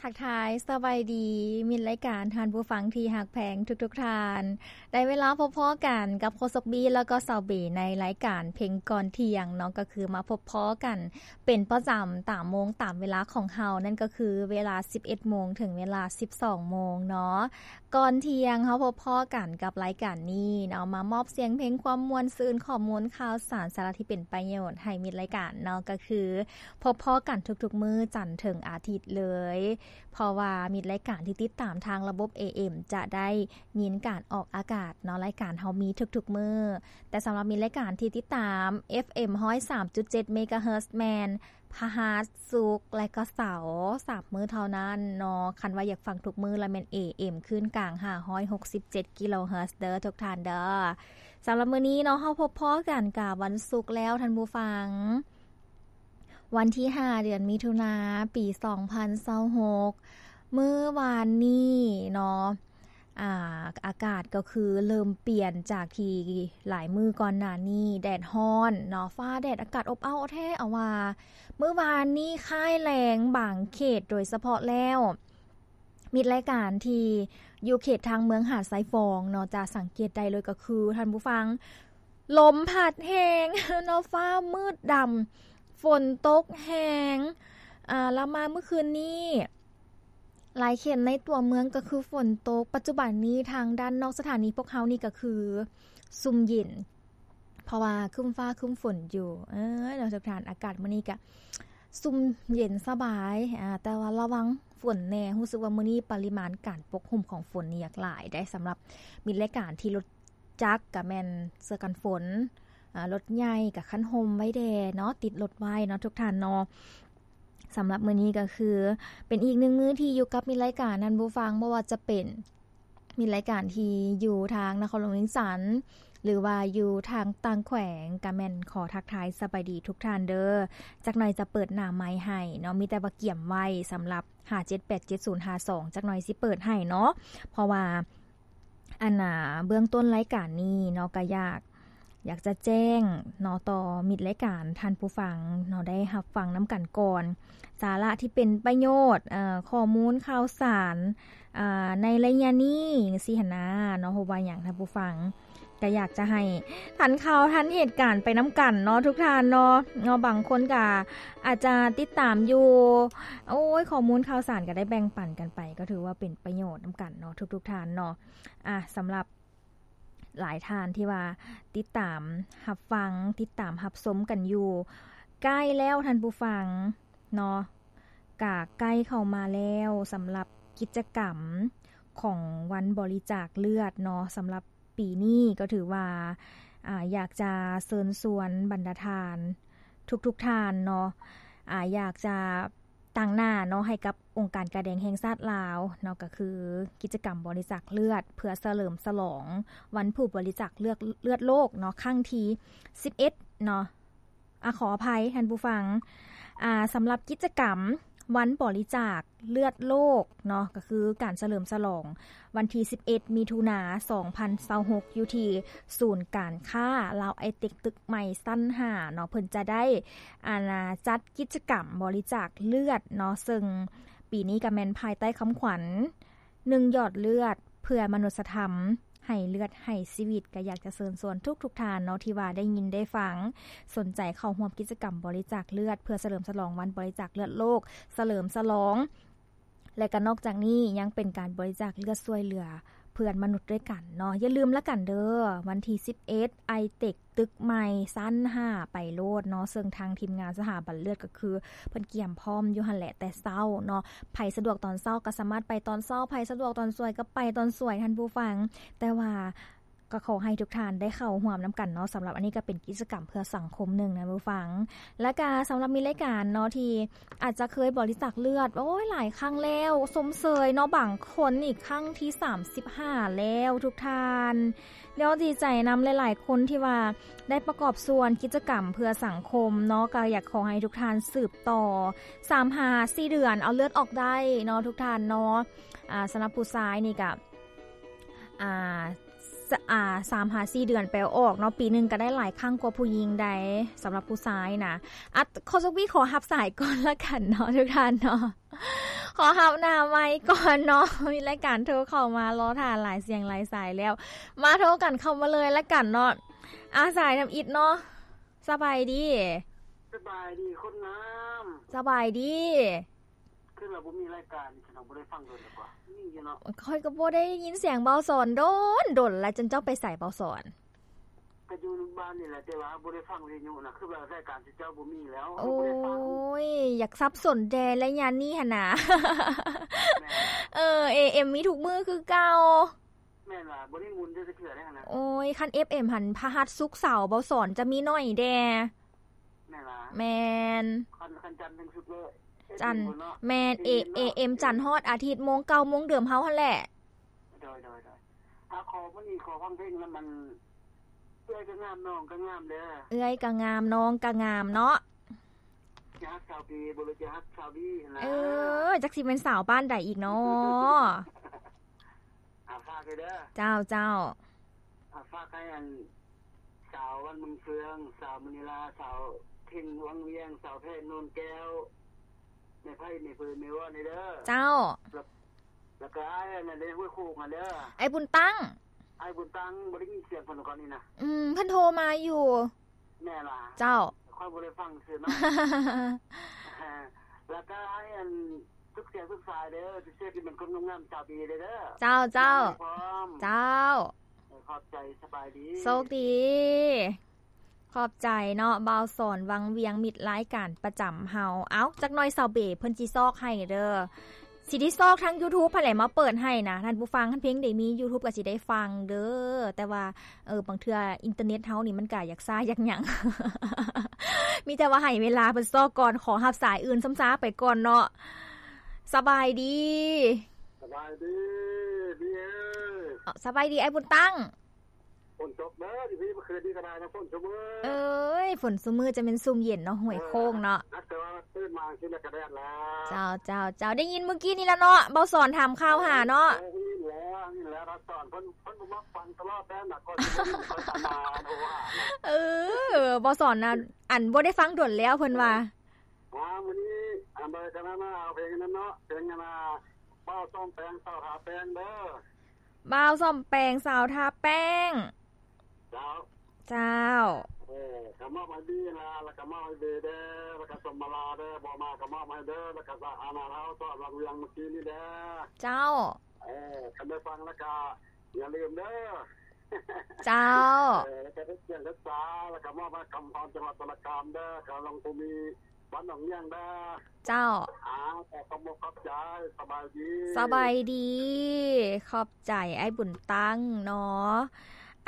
ທັກທາຍສະບາຍດີ ມິດລາຍການ ທ່ານຜູ້ຟັງທີ່ຮັກແພງທຸກໆທ່ານ. ໄດ້ເວລາພົບພໍ້ກັນກັບໂຄສົກບີ ແລ້ວກໍສາວເບ ໃນລາຍການເພງກ່ອນທ່ຽງເນາະ, ກໍຄືມາພົບພໍ້ກັນເປັນປະຈຳຕາມໂມງຕາມເວລາຂອງເຮົາ, ນັ້ນກໍຄືເວລາສິບເອັດໂມງເຖິງເວລາສິບສອງໂມງເນາະ. ກ່ອນທ່ຽງເຮົາພົບພໍ້ກັນກັບລາຍການນີ້ເນາະ, ມາມອບສຽງເພງຄວາມມ່ວນຊື່ນ, ຂໍ້ມູນຂ່າວສານ, ສາລະທີ່ເປັນປະໂຫຍດໃຫ້ມິດລາຍການເນາະ, ກໍຄືພົບພໍ້ກັນທຸກໆມື້ຈັນເຖິງອາທິດເລີຍ. ເພາະວ່າມິດລາຍການທີ່ຕິດຕາມທາງລະບົບ ເອເອັມ ຈະໄດ້ຍິນການອອກອາກາດເນາະ, ລາຍການເຮົາມີທຸກໆມື້. ແຕ່ສຳລັບມິດລາຍການທີ່ຕິດຕາມ ເອຟເອັມ ຮ້ອຍສາມຈຸດເຈັດ ເມກາເຮີດ ແມ່ນພະຫັດ, ສຸກ ແລະກໍເສົາ ສາມມື້ເທົ່ານັ້ນເນາະ. ຄັນວ່າຢາກຟັງທຸກມື້ລະແມ່ນ ເອເອັມ ຄື້ນກາງ ຫ້າຮ້ອຍຫົກສິບເຈັດ ກິໂລເຮີດ ເດີທຸກທ່ານເດີ. ສຳລັບມື້ນີ້ເນາະ ເຮົາພົບພໍ້ກັນກະວັນສຸກແລ້ວທ່ານຜູ້ຟັງ. ວັນທີຫ້າ ເດືອນມິຖຸນາ ປີສອງພັນຊາວຫົກ ມື້ວານນີ້ເນາະ ອາ ອາກາດກໍຄືເລີ່ມປ່ຽນຈາກທີ່ຫຼາຍມື້ກ່ອນໜ້ານີ້ແດດຮ້ອນເນາະ, ຟ້າແດດ ອາກາດອົບອ້າວແທ້ເອົາວ່າ. ມື້ວານນີ້ຄ້າຍແລ້ງບາງເຂດ ໂດຍສະເພາະແລ້ວ ມິດລາຍການທີ່ຢູ່ເຂດທາງເມືອງຫາດຊາຍຟອງເນາະ ຈະສັງເກດໄດ້ເລີຍກໍຄື ທ່ານຜູ້ຟັງ ລົມພັດແຮງເນາະ, ຟ້າມືດດຳ, ຝົນຕົກແຮງ. ອາ ລະມາມື້ຄືນນີ້ ຫຼາຍເຂດໃນຕົວເມືອງກໍຄືຝົນຕົກ. ປັດຈຸບັນນີ້ທາງດ້ານນອກສະຖານີພວກເຮົານີ້ກໍຄືຊຸ່ມເຢັນ ເພາະວ່າຄຶ້ມຟ້າຄຶ້ມຝົນຢູ່. ເອີ ເນາະ ທຸກທ່ານ, ອາກາດມື້ນີ້ກະຊຸ່ມເຢັນສະບາຍ ອາ ແຕ່ວ່າລະວັງຝົນແດ່. ຮູ້ສຶກວ່າມື້ນີ້ປະລິມານການປົກຫຸ້ມຂອງຝົນນີ້ຢາກຫຼາຍໄດ໋ ສຳລັບມິດລາຍການທີ່ລົດຈັກກະແມ່ນເສື້ອກັນຝົນ, ອາ ລົດໃຫຍ່ກະຄັນຮົ່ມໄວ້ແດ່ເນາະ, ຕິດລົດໄວ້ເນາະ ທຸກທ່ານເນາະ. ສຳລັບມື້ນີ້ກໍຄືເປັນອີກໜຶ່ງມື້ທີ່ຢູ່ກັບມິດລາຍການທ່ານຜູ້ຟັງ, ບໍ່ວ່າຈະເປັນ ມີລາຍການທີ່ຢູ່ທາງນະຄອນຫຼວງວຽງຈັນ ຫຼືວ່າຢູ່ທາງຕ່າງແຂວງ ກະແມ່ນຂໍທັກທາຍສະບາຍດີທຸກທ່ານເດີ. ຈັກໜ່ອຍຈະເປີດໜ້າໄມໃຫ້ເນາະ, ມີແຕ່ວ່າກຽມໄວ້ສຳລັບ ຫ້າເຈັດແປດເຈັດສູນຫ້າສອງ ຈັກໜ່ອຍຊິເປີດໃຫ້ເນາະ. ເພາະວ່າ ອັນນ່າ ເບື້ອງຕົ້ນລາຍການນີ້ເນາະ ກະຢາກ ຢາກຈະແຈ້ງເນາະ ຕໍ່ມິດລາຍການທ່ານຜູ້ຟັງເນາະ ໄດ້ຮັບຟັງນຳກັນກ່ອນ ສາລະທີ່ເປັນປະໂຫຍດ ເອີ ຂໍ້ມູນຂ່າວສານ ອາ ໃນໄລຍະນີ້ ຊີ້ຫັ້ນນາເນາະ. ເພາະວ່າຫຍັງ ທ່ານຜູ້ຟັງ ກະຢາກຈະໃຫ້ທັນຂ່າວທັນເຫດການໄປນຳກັນເນາະ ທຸກທ່ານເນາະ. ເນາະ ບາງຄົນກະອາດຈະຕິດຕາມຢູ່ ໂອ້ຍ ຂໍ້ມູນຂ່າວສານກະໄດ້ແບ່ງປັນກັນໄປ ກໍຖືວ່າເປັນປະໂຫຍດນຳກັນເນາະ ທຸກໆທ່ານເນາະ. ອາ ສຳລັບ ຫຼາຍທ່ານທີ່ວ່າຕິດຕາມຮັບຟັງ ຕິດຕາມຮັບຊົມກັນຢູ່ ໃກ້ແລ້ວທ່ານຜູ້ຟັງເນາະ ກະໃກ້ເຂົ້າມາແລ້ວ ສຳລັບກິດຈະກຳຂອງວັນບໍລິຈາກເລືອດເນາະ. ສຳລັບປີນີ້ກໍຖືວ່າ ອາ ຢາກຈະເຊີນຊວນບັນດາທ່ານທຸກໆທ່ານເນາະ ອາ ຢາກຈະ ຕາງໜ້າເນາະ ໃຫ້ກັບອົງການກາແດງແຫ່ງຊາດລາວເນາະ ກໍຄືກິດຈະກຳບໍລິຈາກເລືອດ ເພື່ອສະເຫຼີມສະຫຼອງວັນຜູ້ບໍລິຈາກເລືອດ ເລືອດໂລກເນາະ ຄັ້ງທີສິບເອັດເນາະ. ອາ ຂໍອະໄພທ່ານຜູ້ຟັງ ອາ ສຳລັບກິດຈະກຳວັນບໍລິຈາກເລືອດໂລກເນາະ ກໍຄືການສະເຫຼີມສະຫຼອງ ວັນທີສິບເອັດ ມິຖຸນາ ສອງພັນຊາວຫົກ ຢູ່ທີ່ສູນການຄ້າລາວໄອເຕັກ ຕຶກໃໝ່ ຊັ້ນຫ້າເນາະ ເພິ່ນຈະໄດ້ ອັນ ຈັດກິດຈະກຳບໍລິຈາກເລືອດເນາະ ເຊິ່ງປີນີ້ກະແມ່ນພາຍໃຕ້ຄຳຂວັນ ໜຶ່ງ ຢອດເລືອດເພື່ອມະນຸດສະທຳ ໃຫ້ເລືອດໃຫ້ຊີວິດ. ກະຢາກຈະເຊີນຊວນທຸກໆທ່ານເນາະ ທີ່ວ່າໄດ້ຍິນໄດ້ຟັງ ສົນໃຈເຂົ້າຮ່ວມກິດຈະກຳບໍລິຈາກເລືອດ ເພື່ອສະເຫຼີມສະຫຼອງວັນບໍລິຈາກເລືອດໂລກ ສະເຫຼີມສະຫຼອງ ແລະກະນອກຈາກນີ້ຍັງເປັນການບໍລິຈາກເລືອດຊ່ວຍເຫຼືອເພື່ອນມະນຸດດ້ວຍກັນເນາະ. ຢ່າລືມລະກັນເດີ ວັນທີສິບເອັດ ໄອເຕັກ ຕຶກໃໝ່ ຊັ້ນຫ້າ ໄປໂລດເນາະ ເຊິ່ງທາງທີມງານສະຖາບັນເລືອດກໍຄືເພິ່ນກຽມພ້ອມຢູ່ຫັ້ນແຫຼະແຕ່ເຊົ້າເນາະ. ໃຜສະດວກຕອນເຊົ້າກໍສາມາດໄປຕອນເຊົ້າ ໃຜສະດວກຕອນສວຍກໍໄປຕອນສວຍທ່ານຜູ້ຟັງ ແຕ່ວ່າ ກໍຂໍໃຫ້ທຸກທ່ານໄດ້ເຂົ້າຮ່ວມນຳກັນເນາະ. ສຳລັບອັນນີ້ກໍເປັນກິດຈະກຳເພື່ອສັງຄົມໜຶ່ງນະຜູ້ຟັງ. ແລ້ວກະສຳລັບມີລາຍການເນາະ ທີ່ອາດຈະເຄີຍບໍລິຈາກເລືອດ ໂອ້ຍ ຫຼາຍຄັ້ງແລ້ວ ຊົມເຊີຍເນາະ ບາງຄົນນີ້ຄັ້ງທີສາມສິບຫ້າແລ້ວທຸກທ່ານ. ແລ້ວດີໃຈນຳຫຼາຍໆຄົນທີ່ວ່າໄດ້ປະກອບສ່ວນກິດຈະກຳເພື່ອສັງຄົມເນາະ ກໍຢາກຂໍໃຫ້ທຸກທ່ານສືບຕໍ່ ສາມຫາສີ່ເດືອນເອົາເລືອດອອກໄດ້ເນາະ ທຸກທ່ານເນາະ. ອາ ສຳລັບຜູ້ຊາຍນີ້ກະ ອາ ສ- ອາ ສາມຫາສີ່ເດືອນໄປເອົາອອກເນາະ ປີໜຶ່ງກະໄດ້ຫຼາຍຄັ້ງກວ່າຜູ້ຍິງໃດ໋ ສຳລັບຜູ້ຊາຍນະ. ອາ ຂໍ ສະວີ ຂໍຮັບສາຍກ່ອນລະກັນເນາະ ທຸກທ່ານເນາະ. ຂ ຂໍຮັບໜ້າໄມກ່ອນເນາະ ມີລາຍການໂທເຂົ້າມາ ລໍຖ້າຫຼາຍສຽງຫຼາຍສາຍແລ້ວ ມາໂທກັນເຂົ້າມາເລີຍລະກັນເນາະ. ອາ ສາຍທຳອິດເນາະ ສະບາຍດີ. ສະບາຍດີຄົນງາມ. ສະບາຍດີ. ຄືວ່າບໍ່ມີລາຍການ ຊັ້ນເຮົາບໍ່ໄດ້ຟັງດົນແລ້ວກວ່າ ມີຢູ່ເນາະ. ຂ້ອຍກໍບໍ່ໄດ້ຍິນສຽງເບົາສອນດົນ ດົນແລ້ວ. ຈັ່ນເຈົ້າໄປໃສເບົາສອນ? ກໍຢູ່ບ້ານນີ້ແຫຼະ ແຕ່ວ່າບໍ່ໄດ້ຟັງວິທະຍຸນະ ຄືວ່າລາຍການເຈົ້າບໍ່ມີແລ້ວ. ໂອ້ຍ ບໍ່ໄດ້ຟັງ ຢາກສັບສົນແດ່ໄລຍະນີ້ຫັ້ນນະ. ແມ່ນ ເອີ ເອເອັມ ມີທຸກມື້ຄືເກົ່າ. ແມ່ນວ່າ ບໍ່ໄດ້ໝູນຈັກເທື່ອເດ້ຫັ້ນນະ. ໂອ້ຍ ຄັນເອັຟເອັມຫັ້ນ ພະຫັດ ສຸກ ເສົາ ເບົາສອນຈະມີໜ້ອຍແດ່. ແມ່ນຫວາ? ແມ່ນ. ຄັນ ຄັນຈັນເຖິງສຸກເລີຍ ຈັນ ເອັຟເອັມ ພຸ້ນເນາະ. ແມ່ນ ເອເອັມ ເອເອັມ ເນາະ ຈັນຮອດອາທິດ ໂມງເກົ່າໂມງເດີມເຮົາຫັ້ນແຫຼະ. ໂດຍ ໂດຍ ໂດຍ. ອາ ຂໍມື້ນີ້ຂໍຟັງເພງນຳ ອັນ ເອື້ອຍກໍງາມ ນ້ອງກໍງາມເດີ. ເອື້ອຍກໍງາມ ນ້ອງກໍງາມເນາະ. ຈະຮັກຊາວປີ ບໍ່ຮູ້ຈະຮັກຊາວບີນະ. ເອີ ຈັກຊິແມ່ນສາວບ້ານໃດອີກເນາະ. ອາ ຝາກເດີ. ເຈົ້າ ເຈົ້າ. ອາ ຝາກໃຫ້ອັນ ສາວວັນເມືອງເຟືອງ ສາວມະນີລາ ສາວເພັງວັງວຽງ ສາວແພນໂນນແກ້ວ ແມ່ໄພ ແມ່ເພີນ ແມ່ວອນເດີ. ເຈົ້າ. ແລ້ວ ແລ້ວກໍອ້າຍອັນນັ້ນເດ້ ຫ້ວຍໂຄກຫັ້ນເດີ ອ້າຍບຸນຕັ້ງ. ອ້າຍບຸນຕັ້ງ ບໍ່ໄດ້ຍິນສຽງເພິ່ນກ່ອນນີ້ນະ. ອືມ ເພິ່ນໂທມາຢູ່. ແມ່ນຫວາ? ເຈົ້າ. ຂ້ອຍບໍ່ໄດ້ຟັງຊື່ເນາະ. ແລ້ວກໍໃຫ້ອັນ ທຸກສຽງທຸກສາຍເດີ ເສຍທີ່ເປັນຄົນງາມໆ ຊາວດີເດີ. ເຈົ້າ ເຈົ້າ. ເຈົ້າ. ຂອບໃຈ ສະບາຍດີ ໂຊກດີ. ຂອບໃຈເນາະ ບ່າວສອນວັງວຽງ ມິດລາຍການປະຈຳເຮົາ. ເອົ້າ ຈັກໜ່ອຍສາວເບເພິ່ນຊິຊອກໃຫ້ເດີ. ຊິໄດ້ຊອກທາງຢູທູບຫັ້ນແຫຼະມາເປີດໃຫ້ນະທ່ານຜູ້ຟັງ. ຄັນເພງໄດ້ມີຢູທູບກໍຊິໄດ້ຟັງເດີ. ແຕ່ວ່າ ເອີ ບາງເທື່ອອິນເຕີເນັດເຮົານີ້ມັນກະຢາກຊ້າຢາກຫຍັງ. ມີແຕ່ວ່າໃຫ້ເວລາເພິ່ນຊອກກ່ອນ. ຂໍຮັບສາຍອື່ນຊ້ຳຊາໄປກ່ອນເນາະ. ສະບາຍດີ. ສະບາຍດີ ບີເອີຍ. ສະບາຍດີ ອ້າຍບຸນຕັ້ງ. ຝົນຕົກເດີ ຢູ່ພີ້ເມື່ອຄືນນີ້ກໍໄດ້ນະ ຝົນຊຸມື້. ເອີຍ ຝົນຊຸມື້ ຈະແມ່ນຊຸມເຢັນເນາະ ຫ້ວຍໂຄກເນາະ. ເອີ ແຕ່ວ່າຕື່ນມາຊິແລ້ວກໍແດດແລ້ວ. ເຈົ້າ ເຈົ້າ ເຈົ້າ. ໄດ້ຍິນມື້ກີ້ນີ້ລະເນາະ ເບົາສອນຖາມຂ່າວຫາເນາະ. ເອີ ໄດ້ຍິນແລ້ວ ໄດ້ຍິນແລ້ວ ເບົາສອນເພິ່ນ ເພິ່ນບໍ່ມັກຟັງຕະຫຼອດແດ່ນະ ກ່ອນຊິໄດ້ຍິນຂ້ອຍຕາມມາໂທຫາ. ເອີ ເບົາສອນນະ ອັນ ບໍ່ໄດ້ຟັງດົນແລ້ວເພິ່ນວ່າ. ອ່າ ມື້ນີ້ ອັນໃດກໍນະ ມາເອົາເພງນັ້ນເນາະ ເພງອັນນ່າ ບ່າວສ້ອມແປງ ສາວທາແປ້ງເດີ. ບ່າວສ້ອມແປງ ສາວທາແປ້ງ. ເຈົ້າ. ເຈົ້າ. ເອີ ກໍມອບໃຫ້ບີນະ ແລ້ວກໍມອບໃຫ້ບີເດີ ແລ້ວກໍສົມມາລາເດີ ບໍ່ມາກໍມອບໃຫ້ເດີ ແລ້ວກໍອານາລາວສອນວັງວຽງມື້ກີ້ນີ້ເດີ. ເຈົ້າ. ເອີ ຄັນໄດ້ຟັງແລ້ວກໍຢ່າລືມເດີ. ເຈົ້າ. ເອີ ແລ້ວກໍເຮັດວຽກຮັກສາ ແລ້ວກໍມອບໃຫ້ຄຳພອນ ຈັງຫວັດສາລະກາມເດີ ຂະຫຼວງພູມີ ບ້ານໜອງຫຍັງເດີ. ເຈົ້າ. ອ່າ ຂໍຂອບອົກຂອບໃຈ ສະບາຍດີ. ສະບາຍດີ. ຂອບໃຈອ້າຍບຸນຕັ້ງເນາະ.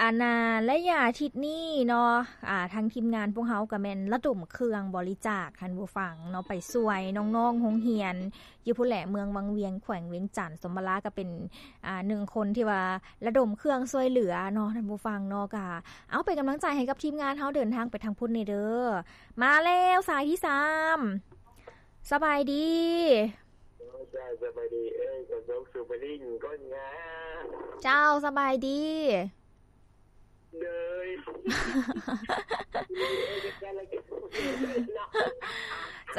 ອັນນ່າ ໄລຍະອາທິດນີ້ເນາະ ອ່າ ທາງທີມງານພວກເຮົາກໍແມ່ນລະດົມເຄື່ອງບໍລິຈາກ ທ່ານຜູ້ຟັງເນາະ ໄປຊ່ວຍນ້ອງໆໂຮງຮຽນ ຢູ່ພຸ້ນແຫຼະ ເມືອງວັງວຽງ ແຂວງວຽງຈັນ. ສົມມາລາກໍເປັນ ອ່າ ໜຶ່ງຄົນທີ່ວ່າລະດົມເຄື່ອງຊ່ວຍເຫຼືອເນາະ ທ່ານຜູ້ຟັງເນາະ. ກໍເອົາ ເປັນກຳລັງໃຈໃຫ້ກັບທີມງານເຮົາ ເດີນທາງໄປທາງພຸ້ນແດ່ເດີ. ມາແລ້ວ ສາຍທີສາມ. ສະບາຍດີ. ເຈົ້າ ສະບາຍດີ. ເອີຍ ກໍສົ່ງສູບລິງຄົນງາມ. ເຈົ້າ ສະບາຍດີ. ເດີຍ ເ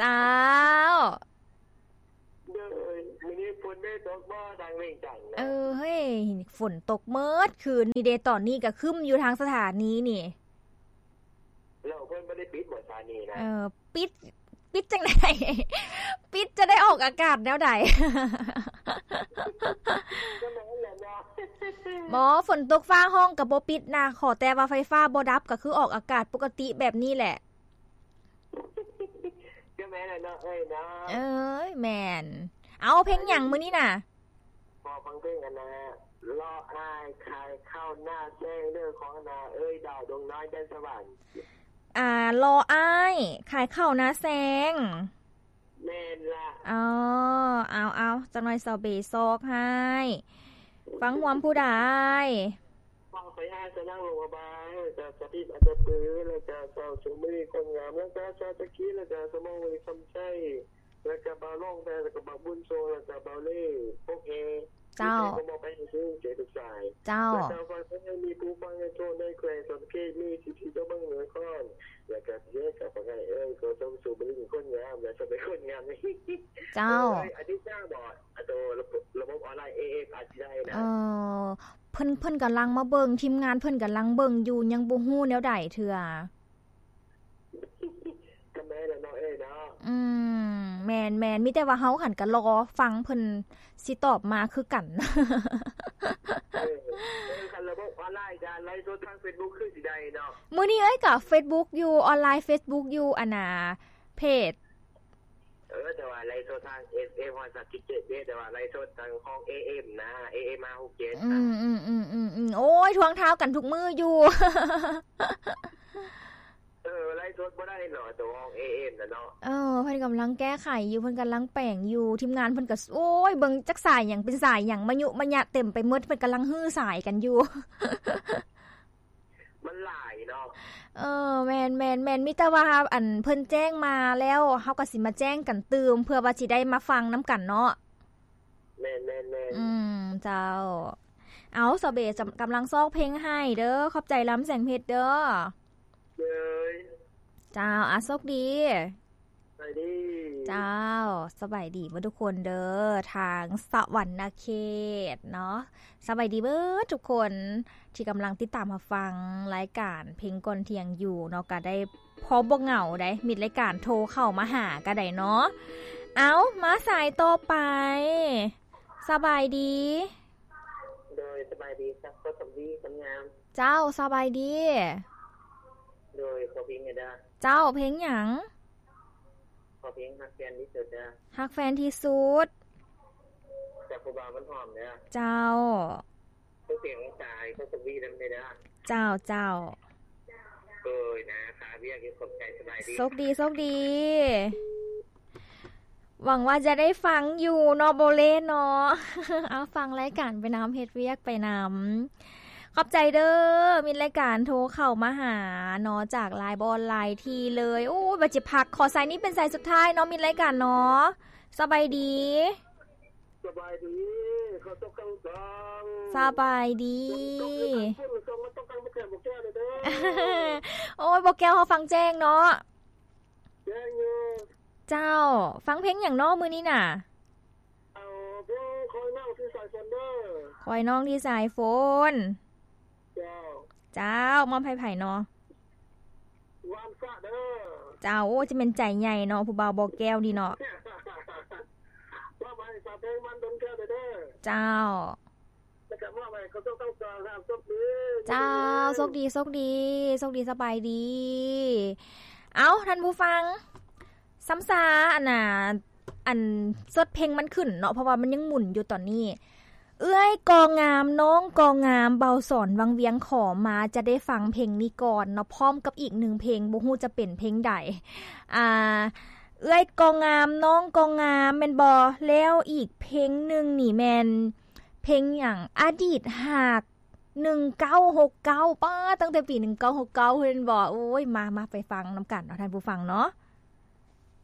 ຈົ້າ. ເດີຍ ມື້ນີ້ຝົນໄດ້ຕົກບໍ່ ທາງວຽງຈັນນະ? ເອີ ເຮີ້ຍ ຝົນຕົກເໝິດຄືນນີ້ເດ. ຕອນນີ້ກໍຄຶ້ມຢູ່ທາງສະຖານີນີ້. ແລ້ວເພິ່ນບໍ່ໄດ້ປິດບໍ່ສານີນະ? ເອີ ປິດ ປິດຈັ່ງໃດ? ປິດຈະໄດ້ອອກອາກາດແນວໃດ? ບໍ່ ຝົນຕົກຟ້າຮ້ອງກໍບໍ່ປິດນະ ຂໍແຕ່ວ່າໄຟຟ້າບໍ່ດັບ ກໍຄືອອກອາກາດປົກກະຕິແບບນີ້ແຫຼະ. ກໍແມ່ນແຫຼະເນາະເອີຍເນາະ. ເອີຍ ແມ່ນ. ເອົາ ເພງຫຍັງມື້ນີ້ນະ? ຂໍຟັງເພງອັນນ່າ ລໍອ້າຍຂາຍເຂົ້າໜ້າແຊງເດີ ຂອງອັນນ່າ ເອີຍດາວ ດວງນ້ອຍ ແດນສະຫວັນ. ອ່າ ລໍອ້າຍຂາຍເຂົ້າໜ້າແຊງ. ແມ່ນລະ. ອໍ ເອົາໆ ຈັກໜ້ອຍສາວເບຊອກໃຫ້. ຟັງຮ່ວມຜູ້ໃດ? ເວົ້າໄປອ້າຍສະນັງ ຫຼວງພະບາງ ແລ້ວກະສະຕິດ ອັນຕະປື ແລ້ວກະສາວສຸມມະລີ ຄົນງາມ ແລ້ວກະສາວຕະກີ ແລ້ວກະສະໝອງ ຄຳໄຊ ແລ້ວກະບ່າວຫຼອງແພ ແລ້ວກະບ່າວບຸນໂຊ ແລ້ວກະບ່າວເລ່ ປົກແຮ. ເຈົ້າ. ເຈົ້າ. ແລ້ວກະມີຜູ້ຟັງໃນທົ່ວໃນແຂວງສະຫວັນນະເຂດ ມີສິບສີ່ຕົວເມືອງນະຄອນ ແລ້ວກະເທດກັບປະກາດເອີຍ ຂໍສົ່ງສູບລິງຄົນງາມ ແລະ ສະເປັນຄົນງາມ. ເຈົ້າ. ເອີຍ ອາທິດໜ້າບໍ? ເອເອັມ ອາດຊິໄດ້ນະ. ເອີ ເພິ່ນ ເພິ່ນກຳລັງມາເບິ່ງ ທີມງານເພິ່ນກຳລັງເບິ່ງຢູ່ ຍັງບໍ່ຮູ້ແນວໃດເທື່ອ. ກໍແມ່ນແຫຼະເນາະເອີຍເນາະ. ອືມ ແມ່ນໆ ມີແຕ່ວ່າເຮົາຫັ້ນກໍລໍຟັງເພິ່ນຊິຕອບມາຄືກັນ. ເອີ ເອີ ຄັນລະບົບອອນລາຍການໄລຟ໌ສົດທາງເຟສບຸກຄືຊິໄດ້ເນາະ. ມື້ນີ້ເອີຍກໍເຟສບຸກຢູ່ ອອນລາຍເຟສບຸກຢູ່ ອັນນ່າ ເພຈ ເອີ ແຕ່ວ່າໄລຟ໌ສົດທາງ ເອຟເອັມ ຮ້ອຍສາມຈຸດເຈັດເດ້ ແຕ່ວ່າໄລຟ໌ສົດທາງຂອງ ເອເອັມ ນະ ເອເອັມ ຫ້າຫົກເຈັດ. ອືມໆໆໆໆ ໂອ້ຍ ທວງທາວກັນທຸກມື້ຢູ່. ເອີ ໄລຟ໌ສົດບໍ່ໄດ້ເນາະ ຕົວຂອງ ເອເອັມ ນະເນາະ. ເອີ ເພິ່ນກຳລັງແກ້ໄຂຢູ່ ເພິ່ນກຳລັງແປງຢູ່ ທີມງານເພິ່ນກໍ ໂອ້ຍ ເບິ່ງຈັກສາຍຫຍັງເປັນສາຍຫຍັງ ມະຍຸມະຍະເຕັມໄປໝົດ ເພິ່ນກຳລັງຮື້ສາຍກັນຢູ່. ມັນຫຼາຍເນາະ. ເອີ ແມ່ນໆໆ ມີແຕ່ວ່າ ອັນ ເພິ່ນແຈ້ງມາແລ້ວ ເຮົາກໍຊິມາແຈ້ງກັນຕື່ມ ເພື່ອວ່າຊິໄດ້ມາຟັງນຳກັນເນາະ. ແມ່ນໆໆ ອືມ ເຈົ້າ. ເອົາ ສາວເບ ກຳລັງຊອກເພງໃຫ້ເດີ ຂອບໃຈລຳແສງເພັດເດີ. ເດີ ເຈົ້າ ອາ ໂຊກດີ. ສະບາຍດີ ເຈົ້າ ສະບາຍດີເບິດທຸກຄົນເດີ ທາງສະຫວັນນະເຂດເນາະ. ສະບາຍດີເບິດທຸກຄົນທີ່ກຳລັງຕິດຕາມຮັບຟັງລາຍການເພງກ່ອນທ່ຽງຢູ່ເນາະ ກະໄດ້ພໍບໍ່ເຫງົາໃດ໋ ມິດລາຍການໂທເຂົ້າມາຫາກະໄດ້ເນາະ. ເອົາ ມາສາຍຕໍ່ໄປ ສະບາຍດີ. ໂດຍ ສະບາຍດີ ສັກຄົນສຳລີຄົນງາມ. ເຈົ້າ ສະບາຍດີ. ໂດຍ ຂໍເພງແດ່ເດີ. ເຈົ້າ ເພງຫຍັງ? ຂໍເພງຮັກແຟນທີ່ສຸດເດີ. ຮັກແຟນທີ່ສຸດ ຈາກຜູ້ບ່າວມັນຫອມເດີ. ເຈົ້າ ເພງສາຍຄົນສຳລີນຳແດ່ເດີ. ເຈົ້າ ເຈົ້າ. ໂດຍ ນະ ຄາວຽກຢູ່ ຂອບໃຈ ສະບາຍດີ. ໂຊກດີ ໂຊກດີ. ຫວັງວ່າຈະໄດ້ຟັງຢູ່ເນາະ ໂບເລເນາະ. ເອົາ ຟັງລາຍການໄປນຳ ເຮັດວຽກໄປນຳ. ຂອບໃຈເດີ ມິດລາຍການໂທເຂົ້າມາຫາເນາະ ຈາກລາຍ ບໍ່ ອອນລາຍທີ່ເລີຍ. ໂອ້ຍ ວ່າຈະພັກ ຂໍສາຍນີ້ເປັນສາຍສຸດທ້າຍເນາະ ມິດລາຍການເນາະ. ສະບາຍດີ. ສະບາຍດີ ເຂົ້າຕົກກາງສອງ. ສະບາຍດີ. ຕົກກາງພຸ້ນ ສົ່ງມາຕົກກາງບໍ່ແກ້ວ ບໍ່ແກ້ວເດີ. ໂອ້ຍ ບໍ່ແກ້ວ ເຮົາຟັງແຈ້ງເນາະ. ແຈ້ງຢູ່. ເຈົ້າ ຟັງເພງຫຍັງເນາະມື້ນີ້ນະ? ເອົາເພງຄອຍນ້ອງທີ່ສາຍຝົນເດີ. ຄອຍນ້ອງທີ່ສາຍຝົນ. ເຈົ້າ. ເຈົ້າ ມອບໃຫ້ໃຜເນາະ? ວານສະເດີ. ເຈົ້າ ໂອ້ ຈະແມ່ນໃຈໃຫຍ່ເນາະ ຜູ້ບ່າວບໍ່ແກ້ວນີ້ເນາະ. ມອບໃຫ້ສາວເພງວັນດົນແກ້ວເດີ. ເຈົ້າ. ແລ້ວກໍມອບໃຫ້ເຂົາເຈົ້າທັງສອງ ໂຊກດີ. ເຈົ້າ ໂຊກດີ ໂຊກດີ ໂຊກດີ ສະບາຍດີ. ເອົ້າ ທ່ານຜູ້ຟັງ ຊ້ຳຊາ ອັນນ່າ ອັນ ສົດເພງມັນຂຶ້ນເນາະ ເພາະວ່າມັນຍັງໝູນຢູ່ຕອນນີ້. ເອື້ອຍກໍງາມ ນ້ອງກໍງາມ ເບົາສອນວັງວຽງຂໍມາ ຈະໄດ້ຟັງເພງນີ້ກ່ອນເນາະ ພ້ອມກັບອີກໜຶ່ງເພງ ບໍ່ຮູ້ຈະເປັນເພງໃດ. ອ່າ ເອື້ອຍກໍງາມ ນ້ອງກໍງາມ ແມ່ນບໍ່? ແລ້ວອີກເພງໜຶ່ງນີ້ແມ່ນ ເພງຫຍັງ? ອະດີດຮັກ ໜຶ່ງເກົ້າຫົກເກົ້າ ປ້າ ຕັ້ງແຕ່ປີໜຶ່ງເກົ້າຫົກເກົ້າ ເພິ່ນບອກ. ໂອ້ຍ ມາ ມາໄປຟັງນຳກັນເນາະ ທ່ານຜູ້ຟັງເນາະ.